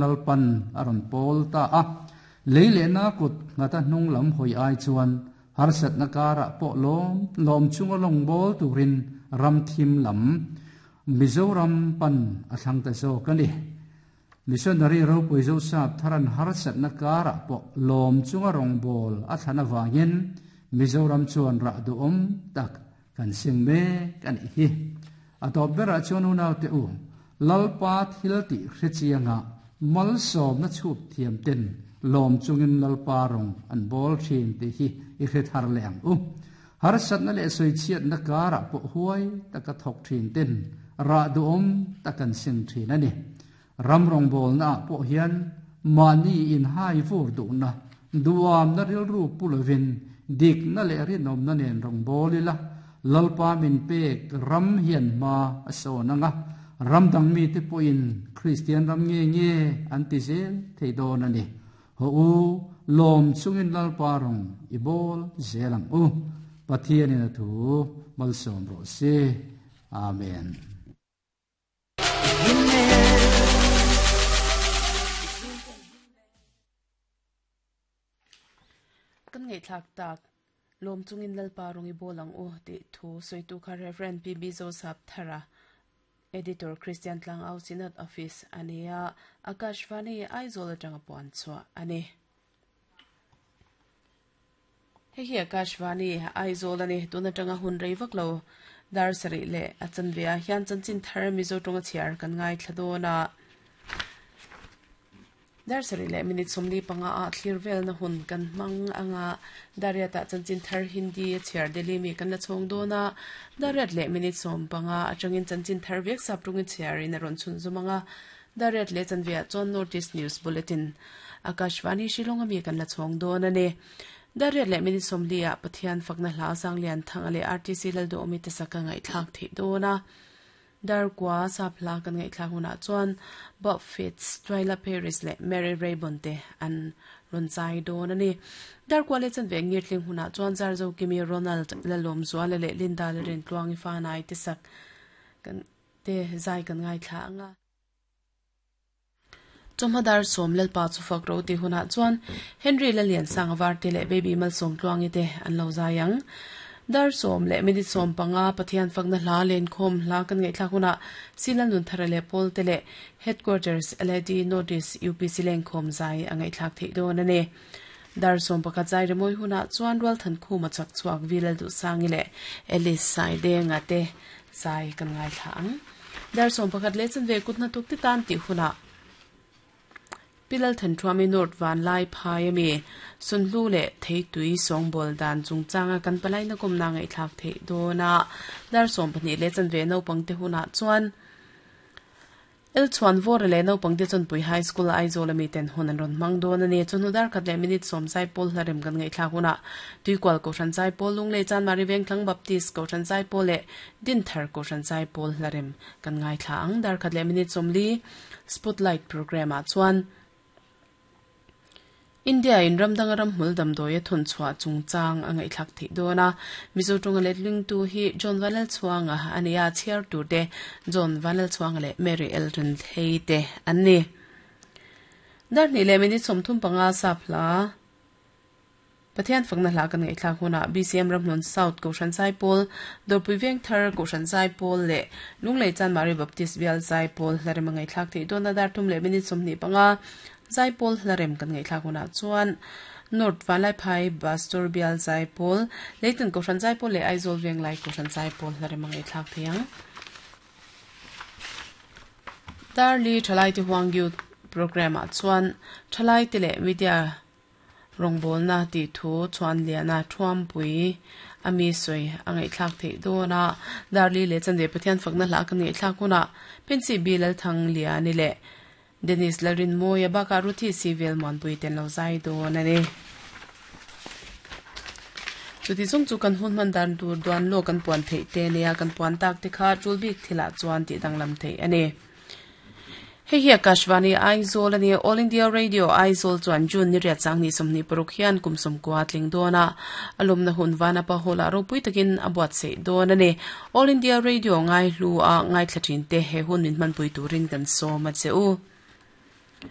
Lalpan a rawn pawl ta a. Lei lehna kut nghata hnung lam hawi ai chuan harsatna karah pawh lawm lawm chunga lawng bawl turin ram thim lam Mizoram pan a thlang ta zawk a ni. Missionary ropui Zosap tharan harsatna karah pawh lawm chunga rawngbâwl a thlan avangin Mizoram chuan rah duhawm tak kan seng mek a nih hi. A tawp berah chuan unaute u, Lalpa thil tih hre chianga malsawmna chhup thiam ten lawm chungin Lalpa rawng an bawl thin tih hi i hre thar leh ang u. Harsatna leh sawichhiatna karah pawh huai taka thawk thin ten rah duhawm tak an seng thin a ni. Ram rawngbawlnaah pawh hian mahni inhai vur duhna, duamna rilru pu lovin dikna leh rinawmna nen rawngbâwl ila, Lalpa min pek ram hian hma a sawn ang a, ram dang mite pawhin Kristian ram nge nge an ti zel thei dawn a ni. Haw u, lawm chungin Lalpa rawng i bâwl zel ang u. Pathianin a thu malsawm rawh se. Amen. Kan ngaihthlak tak, lawm chungin Lalpa rawng i bawl ang u tih thu sawitu kha Rev. PB Zosap Thara, Editor Christian Tlangau Synod Office a ni a, Akashvani Aizawl atanga puan chhuah a ni. Hei hi Akashvani Aizawl a ni. Tun atanga hun rei vak lo dar sarih leh a chanve ah hian chanchin thar Mizo tawnga chhiar kan ngaithla dawn a. Dar sarih leh minute 45 ah thlir velna hun kan hmang anga Dariat ah chanchin thar Hindi a chhiar Delhi mi kan la chhawng dawn a. Dariat leh minute 15 atangin chanchin thar vek sap tawngin chhiarin a rawn chhunzawm anga Dariat leh chanve ah chuan North East News Bulletin Akashvani Shillong ami kan la chhawng dawn a ni. Dariat leh minute 40 ah Pathian fakna hla Zanglian Thanga leh RTC Lalduhawmi te sak ka ngaihthlak theih dawn a. Darkua sap hla kan ngaihthlak hunah chuan Bob Fitts, Twyla Paris leh Mary Raybon te an rawn chai dawn a ni. Darkua leh chanve ngirtling hunah chuan Zarzo Kimi, Ronald Lalawmzuala leh Linda Lalrintluangi Fanai te sak kan te zai kan ngaithla ang a. Chawhma dar sawm Lalpa chu fak ro tih hunah chuan Henry Laliansanga Varte leh Baby Malsawmtluangi te an lo zai ang. Dar sawm leh minute 15 Pathian fakna hla lenkhawm hla kan ngaihthlak hunah Sila Nunthara leh Pawlte leh Headquarters LAD Notice UPC lenkhawm zai a ngaihthlak theih dawn a ni. Dar 11 zai remawi hunah chuan Rualthankhuma chak chhuak V Lalduhsangi leh Alice Saidenga te zai kan ngaithla ang. Dar 11 leh chanve kut hnathawk te tan tih hunah Pi Lalthanṭhuami North Vanlai phai ami Sunhlu leh Theitui sawngbawl dan chungchanga kan palaina kawmna ngaihthlak theih dawn a, dar 12 leh chanve naupang te hunah chuan El Chhuan Vawra leh naupang te Chawnpui High School Aizawl ami ten hun an rawn hmang dawn a ni. Chawhnu dar khat leh minute sawm zaipawl hla rem kan ngaihthlak hunah Tuikual Kohhran Zaipawl Lunglei Chanmari Vengthlang Baptist Kohhran Zaipawl leh Dinthar Kohhran Zaipawl hla rem kan ngaithla ang. Dar khat leh minute 40 Spotlight Programme ah chuan India in ram danga ramhmul damdawi a thawn chhuah chungchang a ngaihthlak theih dawn a. Mizo tawnga letling tu hi John Vanlalchhuanga a ni a, chhiar tur te John Vanlalchhuanga leh Mary Elton Thei te an ni. Dar hnih leh minute 35 sap hla Pathian fakna hla kan ngaihthlak hunah BCM Ramhlun South Kohhran Zaipawl, Dawrpui Vengthar Kohhran Zaipawl leh Lunglei Chanmari Baptist Bial Zaipawl hla rem a ngaihthlak theih dawn a. Dar thum leh minute 25 Zaipawl hla rem kan ngaihthlak hunah chuan North Vanlaiphai Pastor Bial Zaipawl, Leitan Kohhran Zaipawl leh Aizawl Venglai Kohhran Zaipawl hla rem a ngaihthlak theih ang. Darli Thalaite Huang Youth Programme ah chuan Thalaite leh Media Rawngbawlna tih thu chuan Liana Thuampui a mi sawi a ngaihthlak theih dawn a, Darli leh Chanve Pathian fakna hla kan ngaihthlak hunah Pensi B Lalthang Liani leh Dennis Lalrinmawia bakah Ruthi Sivel Muanpui ten lo zai dawn a ni. Chuti chung chu kan hun hman dan tur duan lawk kan puan theih te nia kan puan tak te kha tul bik thilah chuan tih danglam theih a ni. Hei hi Akashvani Aizawl a ni. All India Radio Aizawl chuan June ni riat sang ni 26 hian kum 90 tling dawn a, a lawmna hun Vanapa Hall ah ropui takin a buatsaih dawn a ni. All India Radio ngaihlu a ngaithla thin te he hun min hmanpui turin kan sawm a che u.